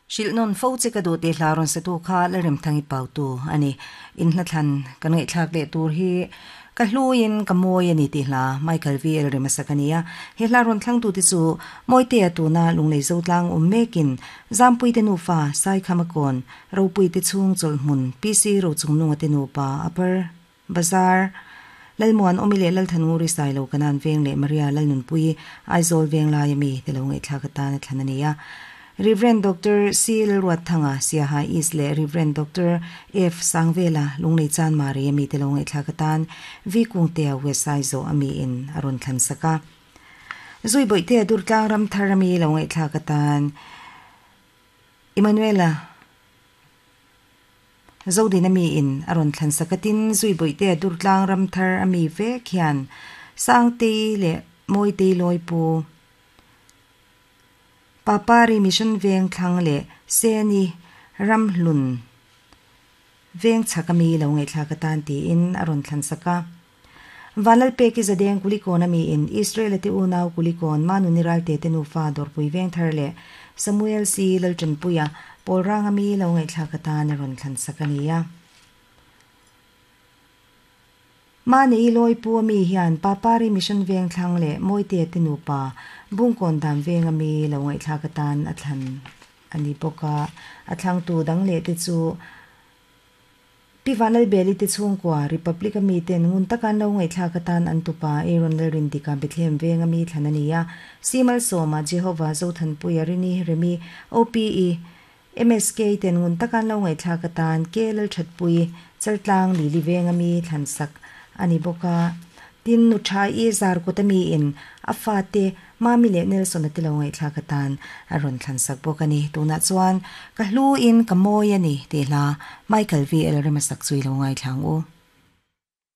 Hrilh nawn fo che ka duh tih hla rawn satu kha Lalremthangi Pautu a ni. In hnathlan kan ngaihthlak leh tur hi ka hluiin ka mawi a ni tih hla Michael VL Remasak a ni a. He hla rawn thlangtute chu Mawitea tuna Lunglei Zotlang awm mekin Zampuite nufa Saikhamakawn Ropuite chhung chawlhhmun PC Rochungnunga te nupa Upper Bazar Lalmuan Awmi leh Lalthannguri Sailo Kanan Veng leh Maria Lalnunpui Aizawl Venglai ami te lo ngaihthlak atan a thlan a ni a. Rev. Doctor C. Lalruatthanga, Siaha East leh Rev. Doctor F. Sangvela, Lunglei Chanmari ami te lo ngaihthlak atan V. Kungtea West Aizaw ami in a rawn thlan sak a. Zui Bawihtea Durtlang Ramthar ami lo ngaihthlak atan Emmanuela Zodin ami in a rawn thlan sak a tin Zui Bawihtea Durtlang Ramthar ami vek hian Sangtei leh Mawitei Lawipu Papari Mission Veng thlang leh Seni Ramhlun Veng chhak ami lo ngaihthlak atan tiin a rawn thlan sak a. Vanlalpeki Zadeng Kulikawn ami in Israel-a te unau Kulikawn Manuni Ralte te nufa Dawrpui Veng thar leh Samuel C. Laltanpuia Pawlrang ami lo ngaihthlak atan a rawn thlan sak a ni a. Mahni Lawipu ami hian Papari Mission Veng thlang leh Mawitea te nupa Bungkawn Dan Veng ami lo ngaihthlak atan a thlan a ni bawk a. A thlangtu dang leh te chu Pi Vanlalbeli te chhungkua Republic ami ten ngun taka an lo ngaihthlak atan an tupa Aaron Lalrindika Bethlehem Veng ami thlan a ni a. Simalsawma Jehovah Zothanpuia Rini Remi OPE MSK ten ngun taka an lo ngaihthlak atan Ke Lalthatpui, Chaltlang Lili venga mi thlansak a ni bawk a. Tin, nu tha i zar kut a mi in a fate Mami leh Nelson a ti lo ngaihthlak atan a rawn thlansak bawk a ni. Tunah chuan ka hlu in ka mawi a ni tih hla Michael VL Remasak chu i lo ngaithla ang u.